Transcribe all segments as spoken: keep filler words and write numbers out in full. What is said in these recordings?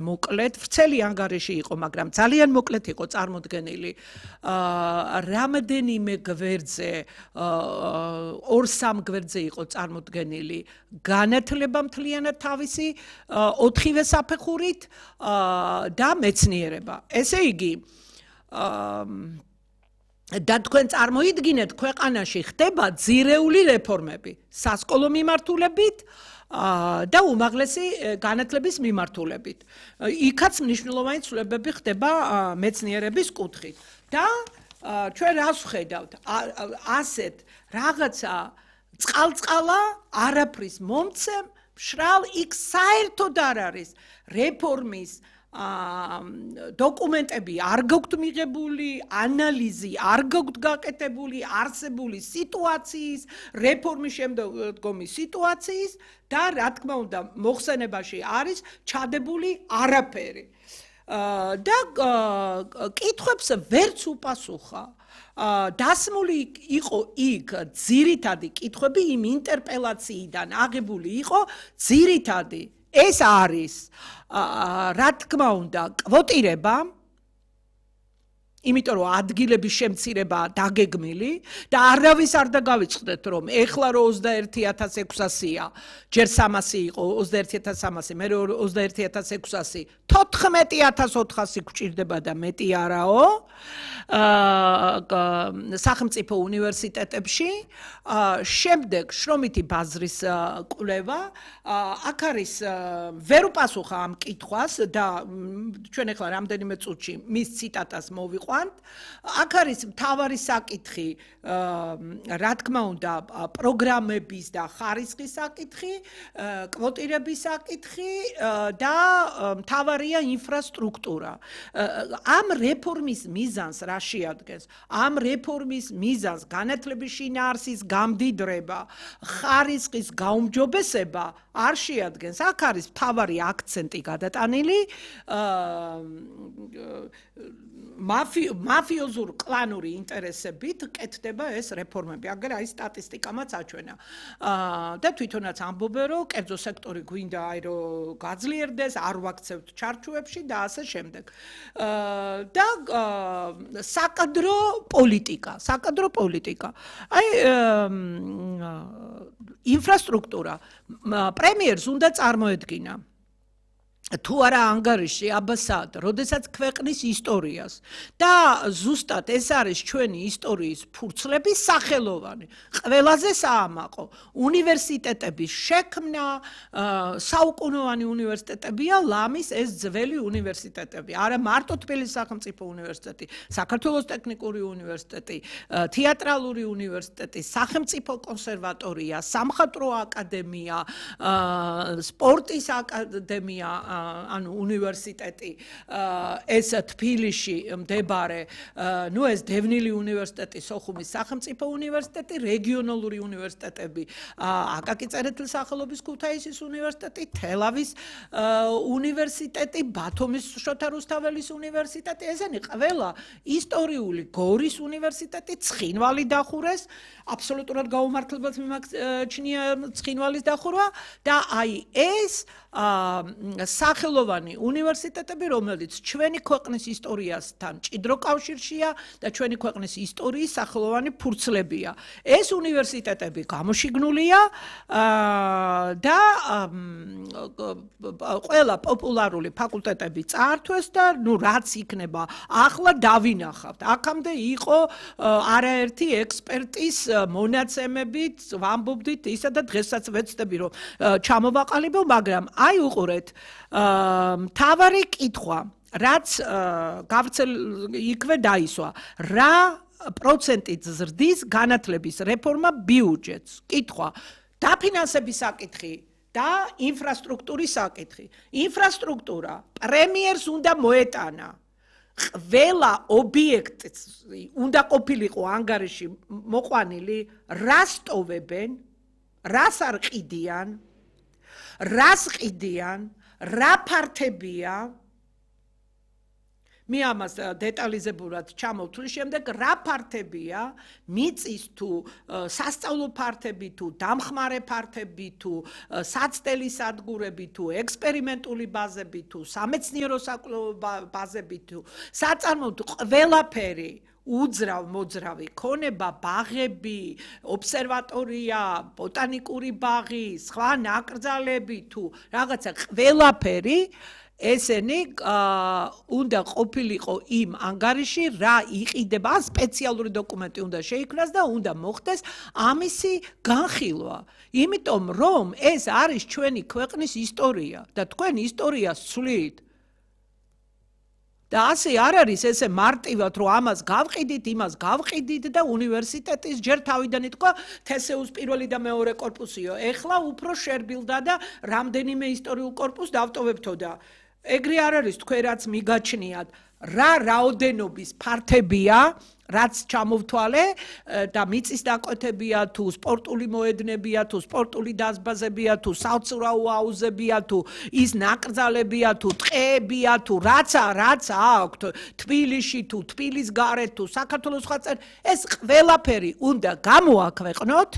მოკლედ, ვრცელი ანგარიში იყო, მაგრამ ძალიან მოკლედ იყო წარმოდგენილი. რამდენიმე გვერდზე, ორ-სამ გვერდზე იყო წარმოდგენილი განათლება მთლიანად თავისი ოთხივე საფეხურით და მეცნიერება. ესე იგი, და თქვენ წარმოიდგინეთ, ქვეყანაში ხდება ძირეული რეფორმები, სასკოლო მიმართულებით და უმაღლესი განათლების მიმართულებით. იქაც მნიშვნელოვანი ცვლილებები ხდება მეცნიერების კუთხით. და ჩვენ რას ვხედავთ? ასეთ რაღაცა წყალწყალა არაფრის მომცემ, მშრალ იქ საერთოდ არ არის რეფორმის დოკუმენტები არ გაქვთ მიღებული, ანალიზი არ გაქვთ გაკეთებული, არსებული სიტუაციის, რეფორმის შემდგომი სიტუაციის და რა თქმა უნდა მოხსენებაში არის ჩადებული არაფერი. და კითხვებს ვერც უპასუხა. დასმული იყო იქ ძირითადი კითხვები იმ ინტერპელაციიდან აღებული იყო ძირითადი ეს არის რა თქმა უნდა კვოტირება, იმიტომ რომ ადგილების შემცირება დაგეგმილი და არავის არ დაგავიწყდეთ რომ ეხლა რო ოცდაერთი ათას ექვსასია, ჯერ სამასი იყო ოცდაერთი ათას სამასი, მე ოცდაერთი ათას ექვსასი, თოთხმეტი ათას ოთხასი გვჭირდება და მეტი არაო. სახელმწიფო უნივერსიტეტებში, შემდეგ შრომითი ბაზრის კვლევა, აქ არის ვერ უპასუხა ამ კითხვას და ჩვენ ახლა რამდენიმე წუთში მის ციტატას მოვიყვანთ. აქ არის მთავარი საკითხი, რა თქმა უნდა, პროგრამების და ხარისხის საკითხი, კვოტირების საკითხი და მთავარია ინფრასტრუქტურა. ამ რეფორმის მიზანს რა შეადგენს? ამ რეფორმის მიზანს განათლების შინაარსის გამდიდრება, ხარისხის გაუმჯობესება არ შეადგენს. აქ არის მთავარი აქცენტი გადატანილი მაფიოზურ კლანური ინტერესებით კეთდება ეს რეფორმები. აგერ აი სტატისტიკამაც აჩვენა. და თვითონაც ამბობენ, რომ კერძო სექტორი გვინდა აი რომ გაძლიერდეს, არ ვაქცევთ ჩარჩოებში და ასე შემდეგ. და საკადრო პოლიტიკა, საკადრო პოლიტიკა. აი ინფრასტრუქტურა პრემიერს უნდა წარმოედგინა თუ არა ანგარიში აბასად, როდესაც ქვეყნის ისტორიას და ზუსტად ეს არის ჩვენი ისტორიის ფურცლების სახელოვანი. ყველაზე საამაყო უნივერსიტეტების შექმნა, საუკუნოვანი უნივერსიტეტებია ლამის ეს ძველი უნივერსიტეტები. არა მარტო თბილისის სახელმწიფო უნივერსიტეტი, საქართველოს ტექნიკური უნივერსიტეტი, თეატრალური უნივერსიტეტი, სახელმწიფო კონსერვატორია, სამხატვრო აკადემია, სპორტის აკადემია, ანუ უნივერსიტეტი, ეს თბილისში მდებარე, ნუ ეს დევნილი უნივერსიტეტი, სოხუმის სახელმწიფო უნივერსიტეტი, რეგიონალური უნივერსიტეტები, აკაკი წერეთლის სახელობის ქუთაისის უნივერსიტეტი, თელავის უნივერსიტეტი, ბათუმის შოთა რუსთაველის უნივერსიტეტი, ესენი ყველა ისტორიული გორის უნივერსიტეტი, ცხინვალი დახურეს, აბსოლუტურად გაუმართლებლად მიმაჩნია ცხინვალის დახურვა და აი ეს სახელოვანი უნივერსიტეტები, რომელიც ჩვენი ქვეყნის ისტორიასთან ჭიდრო კავშირშია და ჩვენი ქვეყნის ისტორიის სახელოვანი ფურცლებია. ეს უნივერსიტეტები გამოშიგნულია და ყველა პოპულარული ფაკულტეტები წაართვეს და ნუ რაც იქნება ახლა დავინახავთ. აქამდე იყო არაერთი ექსპერტის მონაცემებით, ვამბობდით ისა და დღესაც ვეცდები რომ ჩამოვაყალიბო, მაგრამ აი უყურეთ, მთავარი კითხვა, რაც გავრცელ იქვე დაისვა, რა პროცენტით ზრდის განათლების რეფორმა ბიუჯეტს? კითხვა, დაფინანსების საკითხი და ინფრასტრუქტურის საკითხი. ინფრასტრუქტურა პრემიერს უნდა მოეტანა. ყველა ობიექტი უნდა ყოფილიყო ანგარიში მოყვანილი, რას ტოვებენ, რას არ ყიდიან, რას ყიდიან, რა ფართებია, მე ამას დეტალიზებურად ჩამოვთვლი შემდეგ რა ფართებია მიწის თუ სასწავლო ფართები თუ დამხმარე ფართები თუ საცდელი სადგურები თუ ექსპერიმენტული ბაზები თუ სამეცნიერო ბაზები თუ საწარმო თუ ყველაფერი უძრავ მოძრავი ქონება ბაღები ობსერვატორია ბოტანიკური ბაღი სხვა ნაკრძალები თუ რაღაცა ყველაფერი ესენი უნდა ყოფილიყო იმ ანგარიში რა იყიდება სპეციალური დოკუმენტი უნდა შეიქმნას და უნდა მოხდეს ამისი განხილვა იმიტომ რომ ეს არის ჩვენი ქვეყნის ისტორია და თქვენ ისტორიას ცვლით და ასე არ არის ესე მარტივად რომ ამას გავყიდით იმას გავყიდით და უნივერსიტეტის ჯერ თავიდან ითქვა თესეუს პირველი და მეორე კორპუსიო ეხლა უფრო შერბილდა და რამდენიმე ისტორიულ კორპუსს დავტოვებთო და ეგრე არ არის თქვენ რაც მიგაჩნიათ რა რაოდენობის ფართებია რაც ჩამოვთვალე და მიწის დაკვეთებია თუ სპორტული მოედნებია თუ სპორტული დაზბაზებია თუ საცურაო აუზებია თუ ის ნაკრძალებია თუ ტყეებია თუ რაცა რაცა აქვთ თბილისში თუ თბილის გარეთ თუ საქართველოს სხვა წერ ეს ყველაფერი უნდა გამოაქვეყნოთ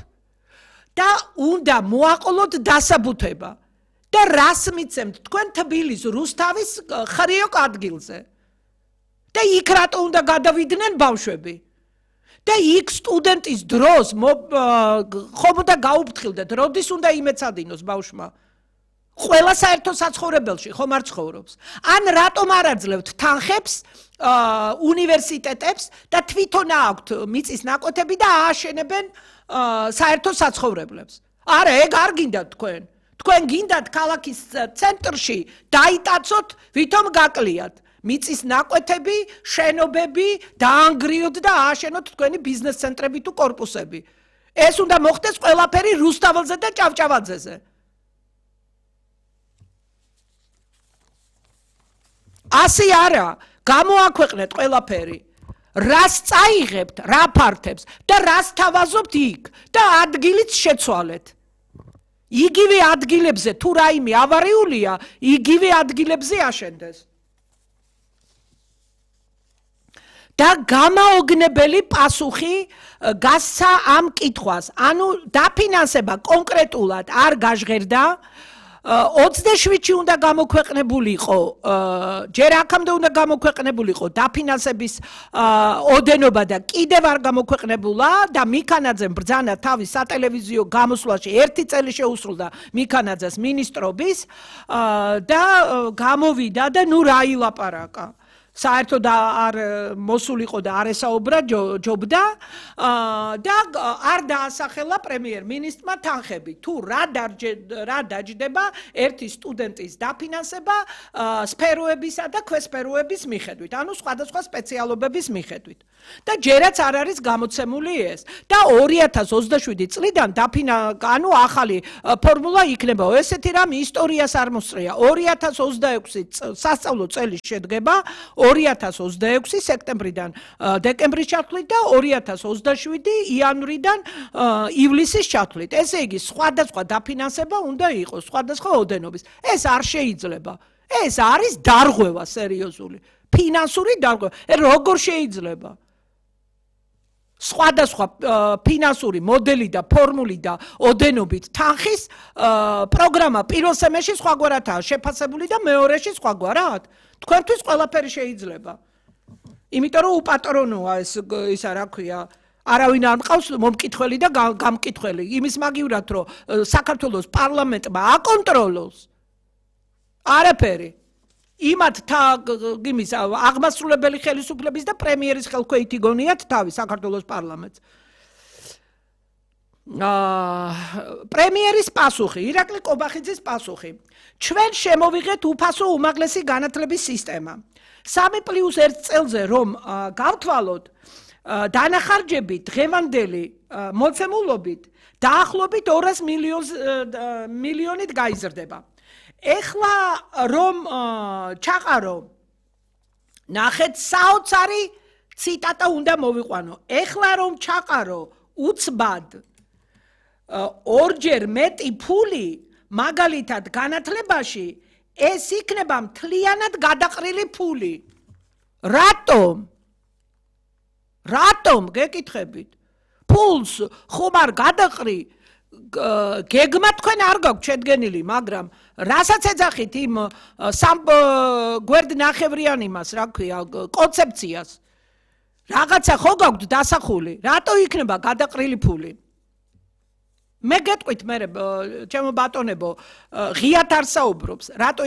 და უნდა მოაყოლოთ დასაბუთება და რას მიცემთ თქვენ თბილის რუსთავის ხრიოკ ადგილზე და იქ რატო უნდა გადავიდნენ ბავშვები და იქ სტუდენტის დროს ხომ უნდა გაუფრთხილდეთ როდის უნდა იმეცადინოს ბავშვმა ყველა საერთო საცხოვრებელში ხომ არ ცხოვრობს ან რატომ არ აძლევთ თანხებს უნივერსიტეტებს და თვითონ აქვთ მიწის ნაკვეთები და ააშენებენ საერთო საცხოვრებლებს არა ეგ არ გინდათ თქვენ თქვენ გინდათ ქალაქის ცენტრში დაიტაცოთ ვითომ გაკლიათ მიწის ნაკვეთები, შენობები, დაანგრიოთ და ააშენოთ თქვენი ბიზნეს ცენტრები თუ კორპუსები. ეს უნდა მოხდეს ყველაფერი რუსთაველზე და ჭავჭავაძეზე. ასე არა, გამოაქვეყნეთ ყველაფერი. რას წაიღებთ, რა ფართებს და რას თავაზობთ იქ და ადგილიც შეცვალეთ. იგივე ადგილებზე თუ რაიმე ავარიულია, იგივე ადგილებზე აშენდეს. და გამაოგნებელი პასუხი გასცა ამ კითხვას. ანუ დაფინანსება კონკრეტულად არ გაჟღერდა. ოცდაშვიდში უნდა გამოქვეყნებულიყო, ჯერ აქამდე უნდა გამოქვეყნებულიყო დაფინანსების ოდენობა და კიდევ არ გამოქვეყნებულა და მიქანაძემ ბრძანა თავის სატელევიზიო გამოსვლაში ერთი წელი შეუსრულდა მიქანაძეს მინისტრობის და გამოვიდა და ნუ რა ილაპარაკა. საერთოდ არ მოსულიყო და არ ესაუბრა ჯობდა და არ დაასახელა პრემიერ-მინისტრმა თანხები. თუ რა დაჯდება ერთი სტუდენტის დაფინანსება სფეროებისა და ქვესფეროების მიხედვით, ანუ სხვადასხვა სპეციალობების მიხედვით. და ჯერაც არ არის გამოცემული ეს. და ორი ათას ოცდაშვიდი წლიდან ანუ ახალი ფორმულა იქნება. ესეთი რამ ისტორიას არ მოსწრია. ორი ათას ოცდაექვსი სასწავლო წელი შედგება ორი ათას ოცდაექვსი სექტემბრიდან დეკემბრის ჩათვლით და ორი ათას ოცდაშვიდი იანვრიდან ივლისის ჩათვლით. ესე იგი, სხვადასხვა დაფინანსება უნდა იყოს, სხვადასხვა ოდენობის. ეს არ შეიძლება. ეს არის დარღვევა სერიოზული. ფინანსური დარღვევა. როგორ შეიძლება? სხვადასხვა ფინანსური მოდელი და ფორმული და ოდენობით თანხის პროგრამა პირველ სემესტრში სხვაგვარადაა შეფასებული და მეორეში სხვაგვარად. თქვენთვის ყველაფერი შეიძლება. იმიტომ რომ უპატრონოა ეს ისა რა ქვია, არავინ არ მყავს მომკითხველი და გამკითხველი. იმის მაგივრად რომ საქართველოს პარლამენტმა აკონტროლოს არაფერი. იმათ იმის აღმასრულებელი ხელისუფლების და პრემიერის ხელქვეითი გონიათ თავი საქართველოს პარლამენტს. პრემიერის პასუხი, ირაკლი კობახიძის პასუხი. ჩვენ შემოვიღეთ უფასო უმაღლესი განათლების სისტემა. სამი პლუს ერთ წელზე რომ გავთვალოთ, დანახარჯებით დღევანდელი მოცემულობით დაახლოებით ორას მილიონით გაიზრდება. ეხლა რომ ჩაყარო, ნახეთ საოცარი ციტატა უნდა მოვიყვანო. ეხლა რომ ჩაყარო უცბად ორჯერ მეტი ფული მაგალითად განათლებაში, ეს იქნება მთლიანად გადაყრილი ფული. რატომ? რატომ გეკითხებით? ფულს ხომ არ გადაყრი გეგმა თქვენ არ გაქვთ შედგენილი, მაგრამ რასაც ეძახით იმ სამ გვერდნახევრიან იმას, რა ქვია, კონცეფციას. რაღაცა ხო გაქვთ დასახული? რატო იქნება გადაყრილი ფული? მე გეტყვით მე ჩემო ბატონებო, ღიათ არ საუბრობს, რატო